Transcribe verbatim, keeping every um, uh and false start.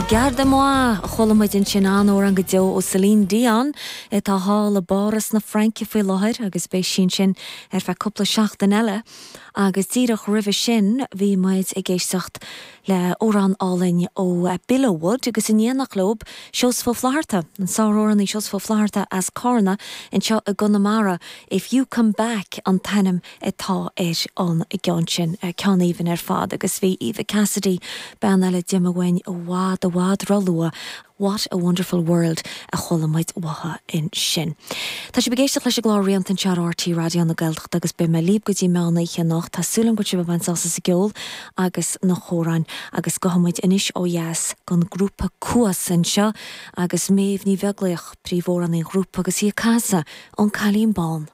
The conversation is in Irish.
Garde-moi a chuala muid ansin an-amhrán go deo ó Celine Dion atá thall i bPáras na Fraince faoi láthair agus beidh sí ansin ar feadh cúpla seachtain eile agus díreach roimhe sin bhí muid ag éisteacht le amhrán álainn ó Billowwood agus in éineacht leo Seosamh Ó Flatharta an sáramhránaí Seosamh Ó Flatharta as Carna anseo i gConamara If You Come Back an t-ainm atá ar an gceann sin ceann aoibhinn ar fad agus bhí Eva Cassidy bean eile dime bhain i bhfad i bhfad róluath. What a Wonderful World a chuala muid uaithi ansin. Tá sibh ag éisteacht leis an gclár Rianta anseo ar RTÉ Raidió na Gaeltachta agus beidh mé libh go dtí meán oíche anocht Tá súil agam go sibh ag baint sult as an gceol agus na hamhráin agus gabhfaidh muid anois ó dheas don grúpa Cuas anseo agus Méabh Ní Bheaglaoich príomhamhránaí an ghrúpa agus í ag casadh An Cailín Bán.